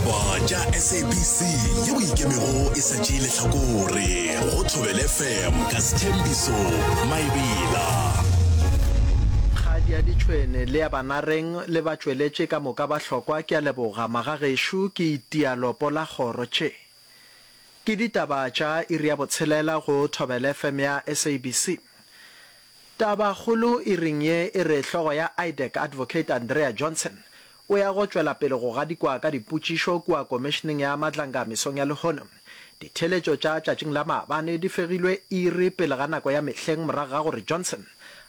Ditaba tša SABC yeo e ikemego e sa tšee lehlakore go Thobela FM ka Sthembiso Maebela. Kgadi ya ditšhwene le ya banareng le batšweletši ka moka ba hlokwa ke a leboga magagešo ke itia lopo la kgoro tše ke ditaba tša iri ya botshelela go Thobela FM ya SABC. Tabakgolo iring ye e re hlogo ya IDAC Advocate Andrea Johnson o ya go tšwela pele go gadikwa ka dipotšišo kua Komišeneng ya Madlanga mesong ya lehono. Ditheeletšo tša tšatšing la maabane di fegilwe iri pele ga nako ya mehleng morago ga gore Johnson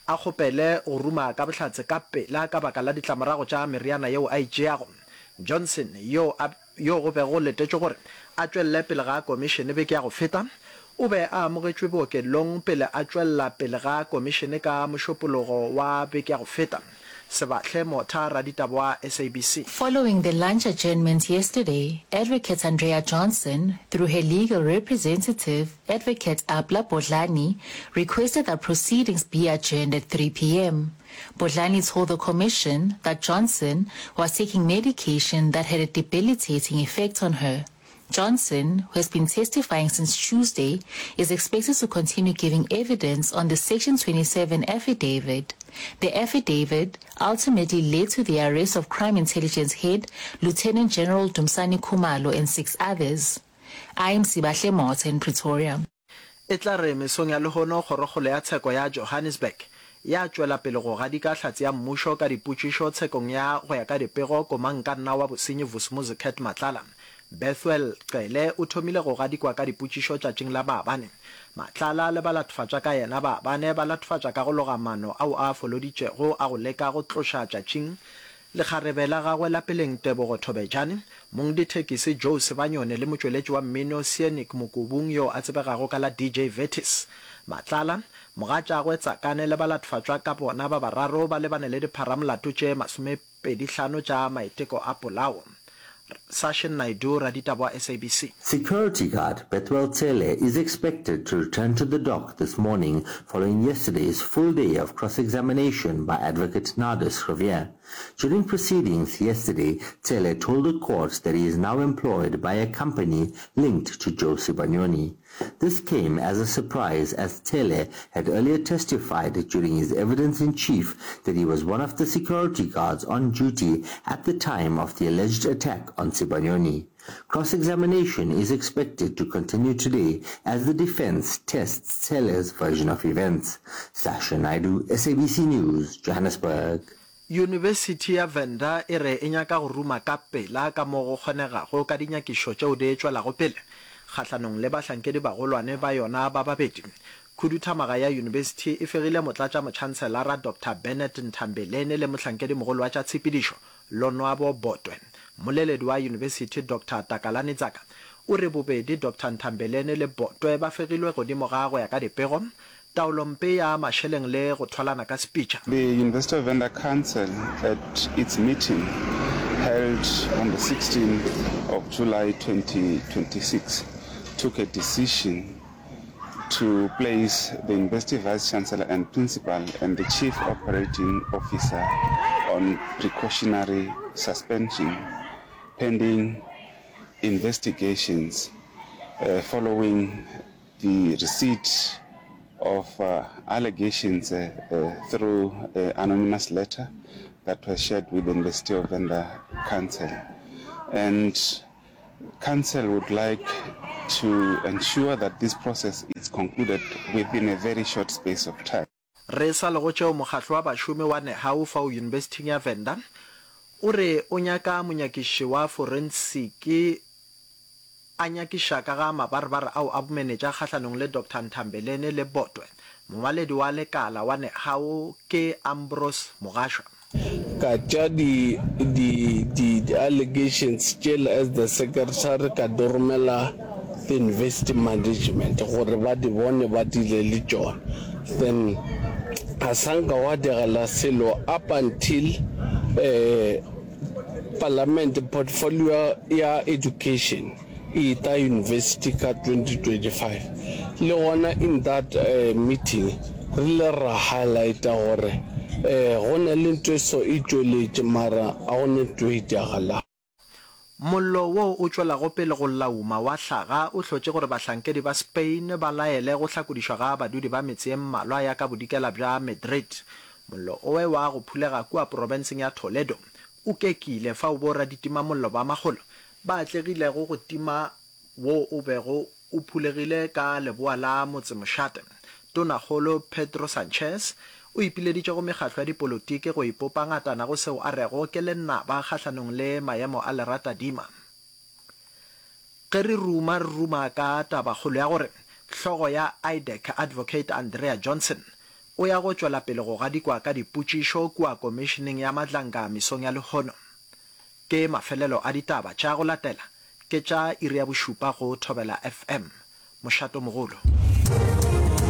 a kgopele go ruma ka bohlatse ka pela ka baka la ditlamorago tša meriana yeo a e tšeago. Johnson yo a yo go bego go letetšwe gore a tšwelele pele ga komišene beke ya go feta, o be a amogetšwe bookelong pele a tšwelela pele ga komišene ka Mošupologo wa beke ya go feta. Sebahle Motha, raditaba wa SABC. Following the lunch adjournment yesterday, Advocate Andrea Johnson, through her legal representative, Advocate Abla Bodlani, requested that proceedings be adjourned at 3 p.m. Bodlani told the commission that Johnson was taking medication that had a debilitating effect on her. Johnson, who has been testifying since Tuesday, is expected to continue giving evidence on the Section 27 affidavit. The affidavit ultimately led to the arrest of Crime Intelligence head Lieutenant General Dumsani Kumalo and six others. I'm Sibahle Motha in Pretoria. E tla re mesong ya lehono Kgorokgolo ya Tsheko ya Johannesburg ya tšwela pele go gadika hlatse ya mmušo ka dipotšišo tshekong ya go ya ka dipego komangkanna wa bosenyi Vusumuzi Cat Matlala. Bethuel Cele o thomile go gadikwa ka dipotšišo tšatšing la maabane. Matlala le balatfatša ka yena ba bane ba latfatša ka go loga maano ao a a foloditšego a go leka go tloša tšatšing Lekgarebe la gagwe la peleng Tebogo Thobejane, mongdithekisi Joe Sebanyone le motšweletši wa mmino Seanic Mokubung yo a tsebegago ka la DJ Vertis. Matlala, mogatšagwe Tsakane le balatfatšwa ka bona ba bararo ba lebane le dipharamolato tše masomepedihlano tša maiteko a polao. Sashin Naidoo, raditaba wa SABC. Security guard Bethuel Tsele is expected to return to the dock this morning following yesterday's full day of cross-examination by advocate Nardus Riviere. During proceedings yesterday, Tsele told the court that he is now employed by a company linked to Joe Sibanyoni. This came as a surprise as Tele had earlier testified during his evidence in chief that he was one of the security guards on duty at the time of the alleged attack on Sibanyoni. Cross-examination is expected to continue today as the defense tests Tele's version of events. Sasha Naidu, SABC News, Johannesburg. Yunibesithi ya Venda e re e nyaka go ruma ka pela ka mo go kgonegago ka dinyakišo tšeo di tšwelago pele kgahlanong le bahlankedibagolwane ba yona ba babedi. Khuduthamaga ya yunibesithi e fegile motlatšamotšhanselara Doctor Bernard Nthambeleni le mohlankedimogolo wa tša tshepedišo Lonwabo Botwe. Mmoleledi wa yunibesithi Doctor Takalani Tsaka o re bobedi Doctor Nthambeleni le Botwe ba fegilwe godimo ga go ya ka dipego Taolompe ya mašeleng le go thwalana ka sepitša. The University of Venda Council at its meeting held on the 16th of July 2026 took a decision to place the University Vice Chancellor and Principal and the Chief Operating Officer on precautionary suspension pending investigations following the receipt of allegations through an anonymous letter that was shared with the University of Venda Council. And Council would like to ensure that this process is concluded within a very short space of time. Re sa le go tšeo mokgahlo wa bašomi wa Nehawu fao Yunibesithing ya Venda o re o nyaka monyakiši wa forensiki a nyakiša ka ga mabarebare ao a bomenetša kgahlanong le Doctor Nthambeleni le Botwe. Mongwaledi wa lekala wa Nehawu ke Ambrose Mogashwa. Ka tša di, di, di, di allegations tšela as the secretary ka di romela the university management gore ba di bone ba deale le tšona. Then ga sa nka gwa diragala selo up until eh, parliament portfolio ya education e eta university ka 2025. Le gona in that meeting re ile ra highlighta gore go na le ntho e so e tšweletše mara ga go na ntho e diragalang. Mollo wo o tšwelago pele go lauma wa hlaga o hlotše gore bahlankedi ba Spain ba laele go hlakodišwa ga badudi ba metse ye mmalwa ya ka bodikela bja Madrid. Mollo owe wa go phulega kua profenseng ya Toledo o kekile fao boraditimamollo ba makgolo ba atlegilego go tima wo o bego o phulegile ka leboa la motsemošate. Tonakgolo Pedro Sanchez o ipileditše go mekgatlo ya dipolotiki go ipopa ngatana go seo a rego ke lenaba kgahlanong le maemo a leratadima. Ge re ruma re ruma ka tabakgolo ya gore hlogo ya IDAC Advocate Andrea Johnson o ya go tšwela pele go gadikwa ka dipotšišo kua Komišeneng ya Madlanga mesong ya lehono. Ke mafelelo a ditaba tša go latela ke tša iri ya bošupa go Thobela FM. Mošato mogolo.